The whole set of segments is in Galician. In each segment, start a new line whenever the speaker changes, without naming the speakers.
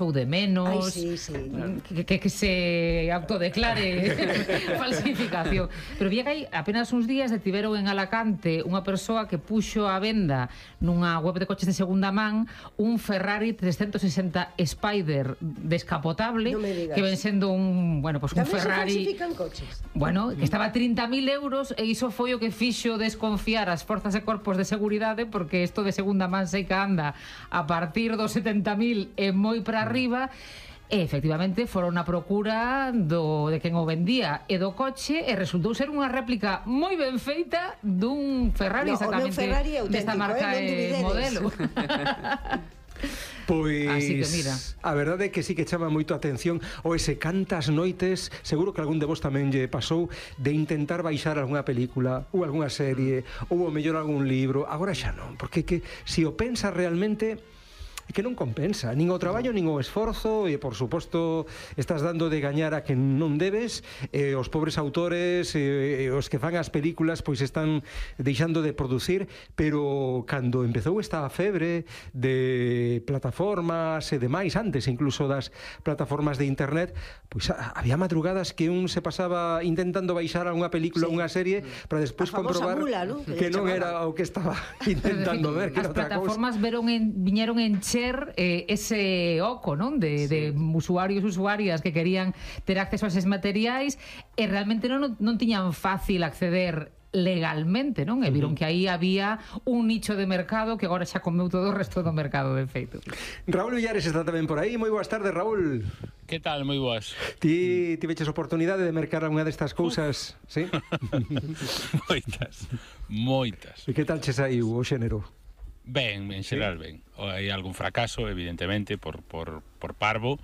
ou de menos, que se autodeclare falsificación. Pero vi que hai apenas uns días detiveron en Alacante unha persoa que puxo a venda nunha web de coches de segunda man un Ferrari 360 Spider descapotable, que ven sendo un, bueno, pues un Ferrari...
Tamén se falsifican coches?
Bueno, que estaba a 30.000 euros, e iso foi o que fixo desconfiar as forzas e corpos de seguridade, porque isto de segunda man sei que anda a partir dos 70.000 e moi para arriba. E efectivamente foron na procura de quen o vendía e do coche, e resultou ser unha réplica moi ben feita dun Ferrari, exactamente desta marca e modelo.
Pois,
así que mira,
a verdade é que sí que chama moito a atención o ese cantas noites, seguro que algún de vos tamén lle pasou, de intentar baixar algunha película ou algunha serie ou o mellor algún libro. Agora xa non, porque que se o pensas realmente é que non compensa, nin o traballo nin o esforzo, e por suposto estás dando de gañar a quen non debes, e os pobres autores e os que fan as películas pois están deixando de producir. Pero cando empezou esta febre de plataformas e demais, antes incluso das plataformas de internet, pois había madrugadas que un se pasaba intentando baixar algunha película ou unha serie para despois comprobar
mula, ¿no?
que non era o que estaba intentando ver, que
as
era outra
plataformas viñeron en ese oco, non? De usuarios e usuarias que querían ter acceso a eses materiais, e realmente non tiñan fácil acceder legalmente, non? E viron que aí había un nicho de mercado que agora xa comeu todo o resto do mercado, de feito.
Raúl Villares está tamén por aí. Moi boas tardes, Raúl.
Que tal? Moi boas.
Ti tiveches oportunidade de mercar algunha destas cousas, sí?
Moitas.
E que tal che saiu o xénero?
Ben, en xeral ben. Hai algún fracaso, evidentemente, por parvo,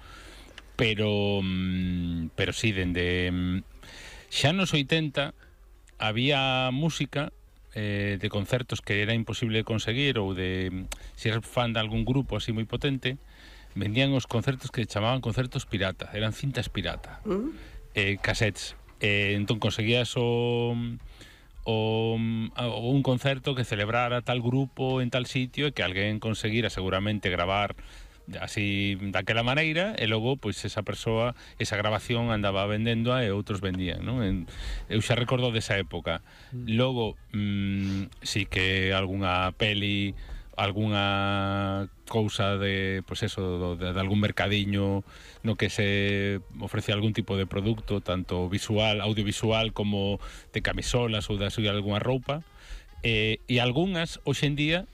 pero sí, dende xa nos 80 había música de concertos que era imposible de conseguir, ou de, se eres fan de algún grupo así moi potente, vendían os concertos que chamaban concertos pirata, eran cintas pirata, cassettes. Entón conseguías un concerto que celebrara tal grupo en tal sitio, e que alguén conseguira seguramente gravar así daquela maneira, e logo pois esa persoa, esa grabación andaba vendéndoa e outros vendían, non? Eu xa recordo desa época. Logo si que algunha peli, algunha cousa de, pois eso, de algún mercadiño no que se ofrece algún tipo de produto, tanto visual, audiovisual, como de camisolas ou de algunha roupa, e algunhas, hoxe en día,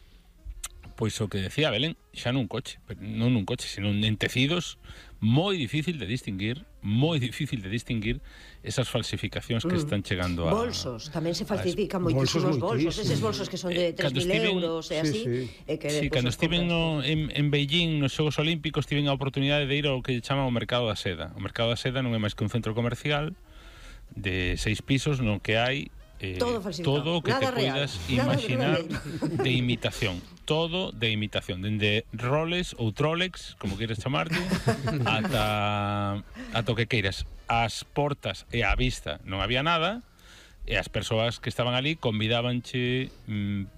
pois o que decía Belén, xa nun coche, pero non nun coche, sino en tecidos, moi difícil de distinguir esas falsificacións que están chegando a...
Bolsos, tamén se falsifican moitísimos bolsos, eses bolsos que son de 3.000 euros e así.
Sí, cando estiven en Beijing nos Xogos Olímpicos, tiven a oportunidade de ir ao que chaman o Mercado da Seda. O Mercado da Seda non é máis que un centro comercial de 6 pisos no que hai todo o que te poidas imaginar de imitación, todo de imitación, dende roles ou trolex, como queres chamarte, ata o que queiras. As portas e á vista non había nada, e as persoas que estaban ali convidábanche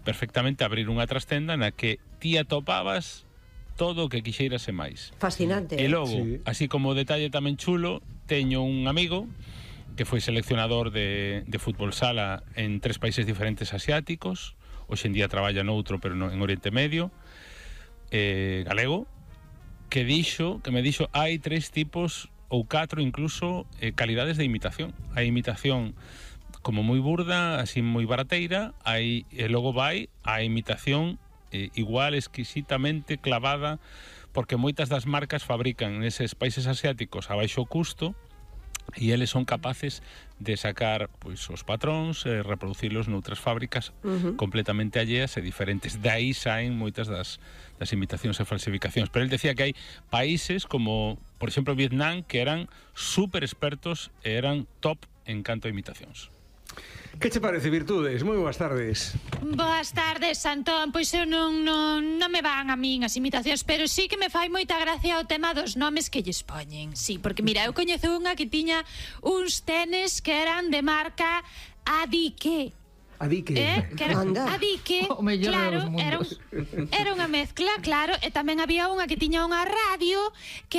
perfectamente a abrir unha trastenda na que ti atopabas todo o que quixeiras e máis.
Fascinante.
E logo, así como detalle tamén chulo, teño un amigo que foi seleccionador de fútbol sala en 3 países diferentes asiáticos, hoxe en día traballa noutro, pero en Oriente Medio, galego, que me dixo hai 3 tipos ou 4 incluso calidades de imitación. Hai imitación como moi burda, así moi barateira, e logo vai a imitación igual exquisitamente clavada, porque moitas das marcas fabrican neses países asiáticos a baixo custo, e eles son capaces de sacar pois os patróns e reproducilos noutras fábricas completamente alleas e diferentes. De aí saen moitas das imitacións e falsificacións. Pero el decía que hai países como, por exemplo, Vietnam, que eran super expertos e eran top en canto a imitacións.
Que che parece, Virtudes? Moi boas tardes.
Boas tardes, Antón. Pois eu non me van a min as imitacións, pero sí que me fai moita gracia o tema dos nomes que lles poñen. Sí, porque mira, eu coñezo unha que tiña uns tenis que eran de marca Adique.
A dique.
A dique,
O mellor
claro,
dos mundos.
era unha mezcla, claro, e tamén había unha que tiña unha radio que